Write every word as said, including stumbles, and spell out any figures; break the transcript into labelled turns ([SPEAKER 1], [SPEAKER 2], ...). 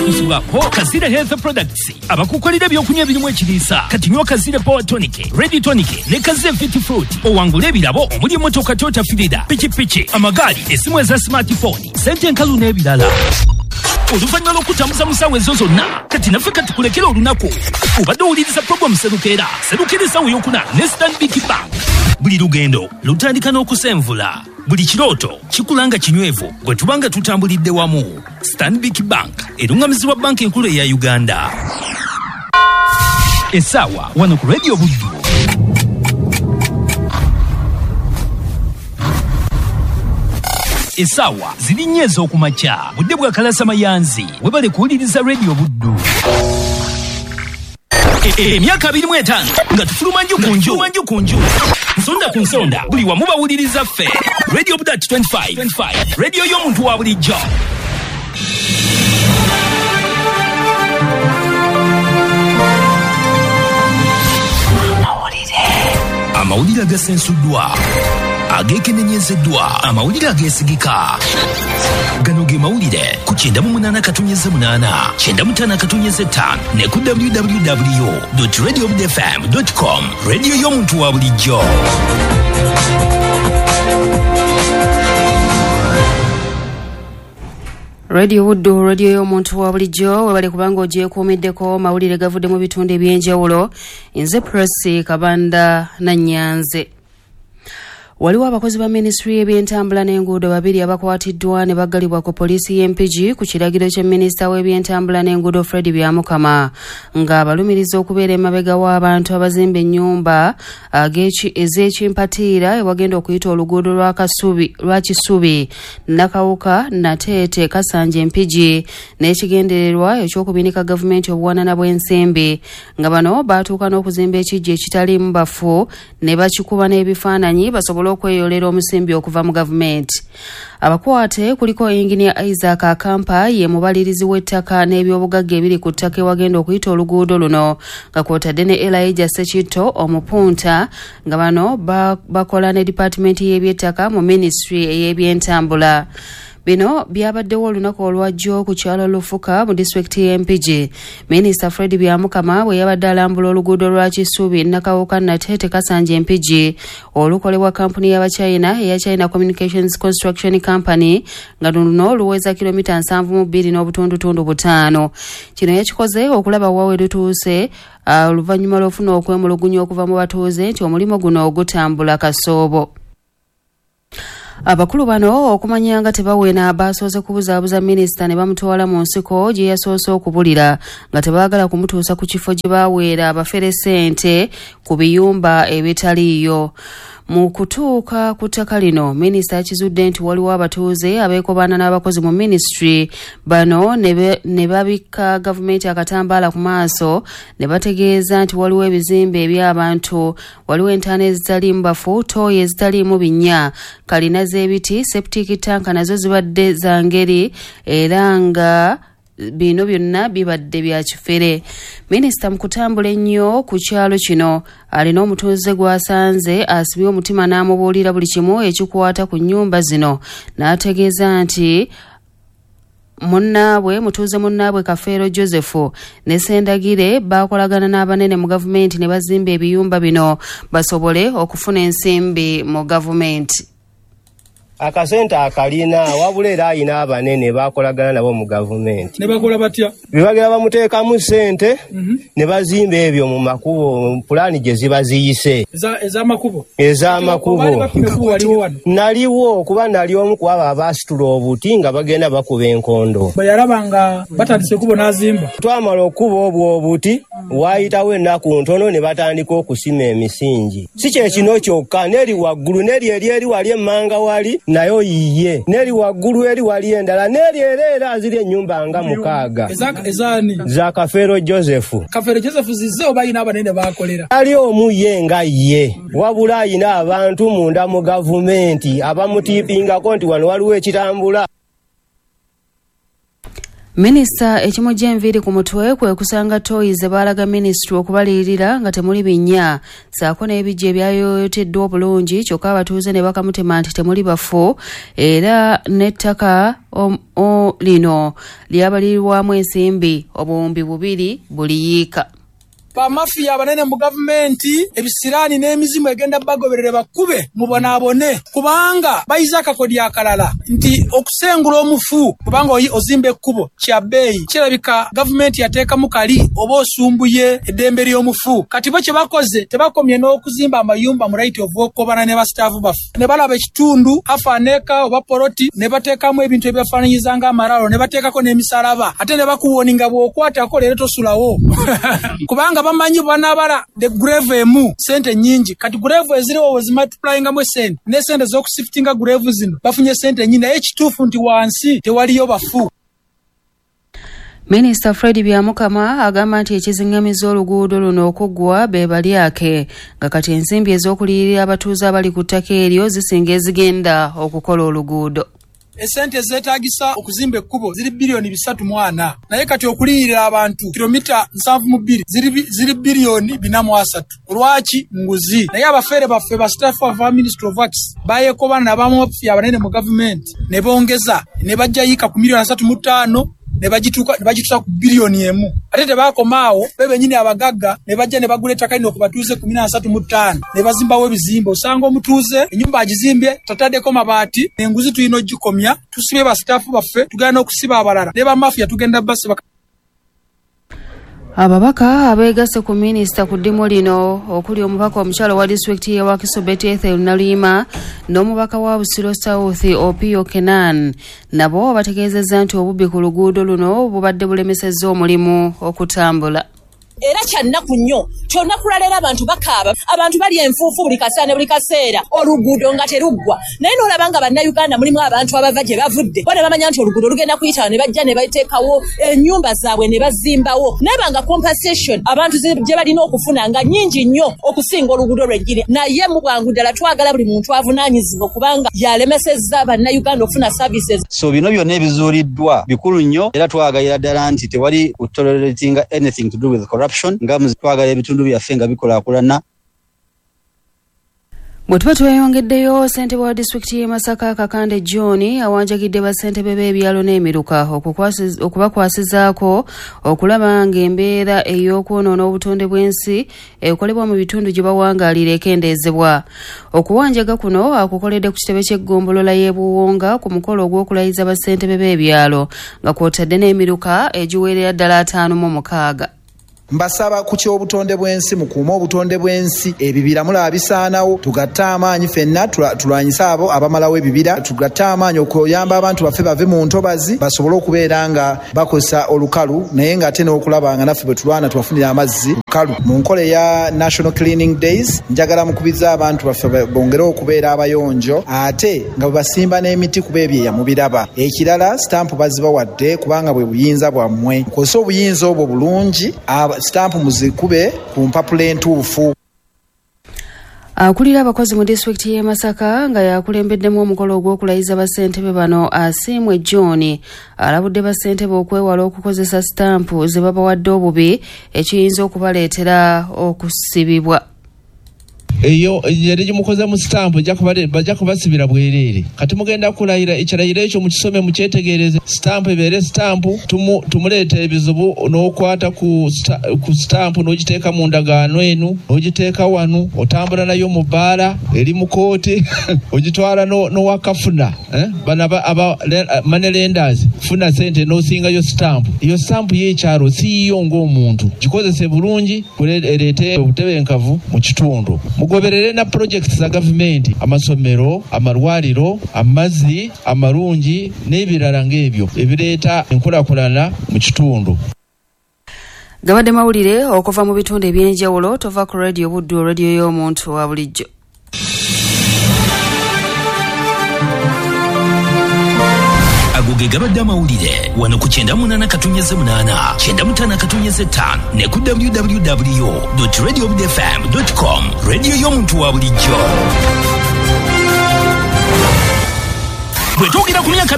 [SPEAKER 1] Kutusibwako Kazira Health Products, abakukolera ebyokunywa ebirimu ekiriisa. Kati nywa Kazira Power Tonic, Ready Tonic ne Kazira Fit Fruit, owangule ebirabo omuli emmotoka Toyota Fielder, pikipiki, amagaali, essimu eza smartphone, sente enkalu n'ebirala. Oluvannyuma lw'okutambuza mu ssaawa ezo zonna, kati naffe katukulekera olunaku. Obadde owuliriza pulogulaamu Serukeera, Serukeera essaawa ey'okuna ne Stanbic Bank. Buli lugendo lutandika n'okusenvula, buli kirooto kikula nga kinywevu bwe tuba nga tutambulidde wamu. Stanbic Bank erungamizibwa banka enkulu eya Uganda. Essaawa wano ku Radio Buddu. Essaawa ziri nnya ez'okumakya, budde bwa Kalasa Mayanzi. Webale kuwuliriza Radio Buddu. Emyaka abiri mu etaano nga tufuluma nju ku nju, nju ku nju, nsonda ku nsonda, buli wamu bawuliriza ffe. Radio Buddu at twenty-five, radio y'omuntu wa bulijjo. Amawulire agasensuddwa, ageekenenyezeddwa, amawulire ageesigika. Gano ge mawulire ku kyenda mu munaana katonnyeze munaana, kyenda mu ttaano katonnyeze ttaano ne ku w w w dot radio buddu f m dot com. Radio y'omuntu wa bulijjo.
[SPEAKER 2] Radio Buddu, radio y'omuntu wa bulijjo. Webale kubanga ogyekuumiddeko. Mawulire gavudde mu bitundu eby'enjawulo. Nze Prossy Kabanda Nannyanze. Waliwo abakozi ba minisitule y'ebyentambula n'enguudo babiri abakwatiddwa ne baggalibwa ku poliisi y'e Mpigi ku kiragiro kya minisita w'ebyentambula n'enguudo Fred Byamukama, nga balumiriza okubeera emabega w'abantu abazimba ennyumba ez'ekimpatiira ewagenda okuyita oluguudo lwa Kasubi, lwa Kisubi, Nakawuka, Nateete, Kasanje, Mpigi, n'ekigendererwa eky'okubinika gavumenti obuwanana bw'ensimbi, nga bano baatuuka n'okuzimba ekijja ekitaliimu bafu ne bakikuba n'ebifaananyi basobole okweyolera omusimbi okuva mu gavumenti. Abakwate kuliko Engineer Isaac Akampa, ye mubalirizi w'ettaka n'ebyobugagga ebiri ku ttaka ewagenda okuyita oluguudo luno, nga kw'otadde ne Elijah Sekitto omupunta, nga bano bakola ne dipaatimenti y'ebyettaka mu minisitule ey'ebyentambula. Bino byabaddewo olunaku olwajjo ku kyalo Lufuka mu disitulikiti y'e Mpigi. Minisita Fred Byamukama bwe yabadde alambula oluguudo lwa Kisubi, Nakawuka, Nateete, Kasanje, Mpigi olukolebwa kampuni y'Abachina eya China Communications Construction Company, nga luno luweza kilomita nsanvu mu bbiri n'obutundutundu butaano. Kino yakikoze okulaba wa we lutuuse oluvannyuma lw'ofuna okwemulugunya okuva mu batuuze nti omulimu guno ogutambula kasoobo. Abakulu bano okumanya nga tebawena basoose kubuzaabuza minisita ne bamutwala mu nsiko gye yasoose okubulira, nga tebaagala kumutuusa ku kifo gye baweera abafere ssente ku biyumba ebitaliiyo. Mu kutuuka ku ttaka lino, minisita yakizudde nti waliwo abatuuze abeekobaana n'abakozi mu minisitule bano ne babikka gavumenti akatambaala ku maaso ne bategeeza nti waliwo ebizimbe eby'abantu, waliwo entaana ezitaliimu bafu, ttooyi ezitaliimu binnya, kalina z'ebiti, septic tank nazo zibadde za ngeri, era nga bino byonna bibadde bya kifere. Minisita mu kutambula ennyo ku kyalo kino alina omutuuze gw'asanze asibye omutima n'amubuulira buli kimu ekikwata ku nnyumba zino, n'ategeeza nti munnaabwe mutuuze munnaabwe Kafeero Joseph ne Sendagire baakolagana n'abanene mu gavumenti ne bazimba ebiyumba bino basobole okufuna ensimbi mu gavumenti.
[SPEAKER 3] Akasente akalina wabula era ayina abanene bakolagana nabo mu gavumenti.
[SPEAKER 4] Ne bakola batya?
[SPEAKER 3] Bibagera bamuteekamu ssente
[SPEAKER 4] mm -hmm.
[SPEAKER 3] ne bazimba ebyo mu makubo, pulaani gye ziba ziyise.
[SPEAKER 4] Ez'amakubo?
[SPEAKER 3] Ez'amakubo. Naliwo kuba nali omu ku abo abaasitula obuti nga bagenda bakuba enkondo.
[SPEAKER 4] Bwe yalaba nga batandise ekkubo n'azimba.
[SPEAKER 3] Twamala okuba obwo obuti, waayitawo ennaku ntono ne batandika okusima emisingi. Si kye kino kyokka, n'eri waggulu, n'eri eri eri wali emmanga wali nayo yiye, n'eri waggulu eri wali endala, n'eri era era ziri ennyumba nga mukaaga.
[SPEAKER 4] Ezaani?
[SPEAKER 3] Za Kafeero Joseph.
[SPEAKER 4] Kafeero Joseph zize oba ayina abanene baakolera?
[SPEAKER 3] Ali omu ye nga ye, wabula ayina abantu munda mu gavumenti abamutiipingako nti wano waliwo ekitambula.
[SPEAKER 2] Minisita ekimujja enviiri ku mutwe kwe kusanga toyi ze baalaga minisitule okubaliyirira nga temuli binnya ssaako n'ebijja ebyayoyoteddwa obulungi, kyokka abatuuze ne bakamutema nti temuli bafu, era n'ettaka lino lyabalirirwamu ensimbi obuwumbi bubiri buli yiika.
[SPEAKER 4] Bamafiya abanene mu gavumenti, ebisiraani n'emizimu egenda bagoberere bakube mubonaabone, kubanga bayize akakodi akalala nti okusengula omufu kubanga ozimba ekkubo kya bbeeyi. Kirabika gavumenti yateekamu kali oba osumbuye eddembe ly'omufu. Kati bo kye bakoze tebakomye n'okuzimba amayumba mu right of okobana ne basitaafu baffe, ne balaba ekitundu afaneeka oba poloti ne bateekamu ebintu ebyafaananyiza ng'amalaalo ne bateekako n'emisalaba, ate ne bakuwoninga bw'okwatako leero tosulawo kubanga bamanyi banabala the grave emu sente nyingi. Kati grave eziriwo wezimultiplyingamu esente ne sente z'okusiftinga grave zino bafunye sente nyingi, naye ekituufu nti wansi tewaliyo bafu.
[SPEAKER 2] Minisita Fred Byamukama agamba nti ekizingamiza oluguudo luno okuggwa be balyake, nga kati ensimbi ez'okuliyirira abatuuze abali ku ttaka eryo zisinga ezigenda okukola oluguudo.
[SPEAKER 4] Esente ezeetaagisa okuzimba ekkubo ziri biliyoni bisatu mu ana, naye kati okuliyirira abantu kilomita nsanvu mu bbiri ziri, ziri biliyoni bina mu asatu. Lwaki? Nguzi. Naye abafeere baffe ba staff aba Ministry of Works bayeekobana n'abamafiya abanene mu gavumenti ne bongeza ne bajja yiika ku miliyoni asatu mu ttaano ne bagituuka ne bagituusa ku biliyoni emu. Ate tebaakoma awo, be bennyini abagagga ne bajja ne bagula ettaka lino ku batuuze ku miliyoni asatu mu ttaano ne bazimbawo ebizimbe. Osanga omutuuze ennyumba agizimbye tataddeko mabaati. Enguzi tulina ogikomya, tusibye basitaafu baffe, tugenda n'okusiba abalala ne bamafiya tugenda basiba.
[SPEAKER 2] Ababaka abeegasse ku minisita ku ddimu lino okuli omubaka omukyala wa disitulikiti y'e Wakiso Betty Ethel Naluyima n'omubaka wa Busiro South Opio Kenan nabo bategeezezza nti obubbi ku luguudo luno bubadde bulemesezza omulimu okutambula.
[SPEAKER 5] Era kyannaku nnyo, kyonna kulala abantu bakaaba, abantu balya enfuufu buli kaseera ne buli kaseera, oluguudo nga teruggwa. Naye n'olaba nga bannayuganda mulimu abantu abava gye bavudde, bo ne bamanya nti oluguudo lugenda kuyitawo ne bajja ne bateekawo ennyumba zaabwe ne bazimbawo. Naye banga compensation abantu gye balina okufuna nga nnyingi nnyo okusinga oluguudo lwennyini. Naye mu bwangu ddala twagala buli muntu avunaanyizibwa kubanga yalemesezza bannayuganda okufuna services.
[SPEAKER 6] So bino byonna ebizuuliddwa bikulu nnyo, era twagalira ddala nti tewali kutoleratinga anything to do with corruption, nga twagala ebitundu byaffe nga bikulaakulana.
[SPEAKER 2] Bwe tuba tweyongeddeyo, ssentebe wa disitulikiti y'e Masaka Kakande John awanjagidde bassentebe b'ebyalo n'emiruka okubakwasizaako okulaba ng'embeera ey'okwonoona obutonde bw'ensi ekolebwa mu bitundu gye bawangaalira ekendeezebwa. Okuwanjaga kuno akukoledde ku kitebe ky'eggombolola y'e Buwonga ku mukolo ogw'okulayiza bassentebe b'ebyalo nga kw'otadde n'emiruka egiwerera ddala ataano mu mukaaga.
[SPEAKER 7] Mbasaba ku ky'obutonde bw'ensi, mukuume obutonde bw'ensi, ebibira mulaba bisaanawo, tugatte amaanyi ffenna tulwanyise abo abamalawo ebibira, tugatte amaanyi okuyamba abantu baffe bave mu ntobazi basobole okubeera nga bakozesa olukalu, naye ng'ate n'okulaba nga naffe bwe tulwana tubafunira amazzi lukalu. Mu nkola eya National Cleaning Days, njagala mukubiza abantu baffe bongere okubeera abayonjo, ate nga bwe basimba n'emiti kuba ebyeya mubiraba. Ekirala, sitampu bazibawadde kubanga bwe buyinza bwammwe, mukozese obuyinza obwo bulungi, sitampu muzikube ku mpapula entuufu.
[SPEAKER 2] Akulira abakozi mu disitulikiti y'e Masaka nga yakulembeddemu omukolo ogw'okulayiza bassentebe bano Asiimwe John alabudde bassentebe okwewala okukozesa sitampu ze babawadde obubi ekiyinza okubaleetera okusibibwa.
[SPEAKER 8] Eyo yali gimukoze mu sitampu bajja kubasibira bwereere. Kati mugenda kulayira ekirayiro ekyo mukisome mukyetegereze, sitampu ebeere sitampu, tumuleeta ebizibu n'okwata ku sitampu n'ogiteeka mu ndagaano eno, n'ogiteeka wano, otambula nayo mu bbaala eri mu kooti ogitwala n'owakafuna bano aba money lenders, funa sente n'osingayo sitampu. Eyo sitampu y'ekyalo si yiyo ng'omuntu, gikozese bulungi ereete obutebenkavu mu kitundu. Mugoberere na projects za gavumenti, amasomero, amalwaliro, amazzi amalungi n'ebirala ng'ebyo ebireeta enkulaakulana mu kitundu.
[SPEAKER 2] Gabadde mawulire okuva mu bitundu eby'enjawulo. Tova ku Radio Buddu, radio y'omuntu wa bulijjo.
[SPEAKER 1] Ago ge gabadde amawulire wano ku kyenda munaana katunyeze munaana kyenda mutaano katunyeze ttaano ne ku w w w dot radio buddu f m dot com. Radio y'omuntu wa bulijjo. Bwe twogera ku myaka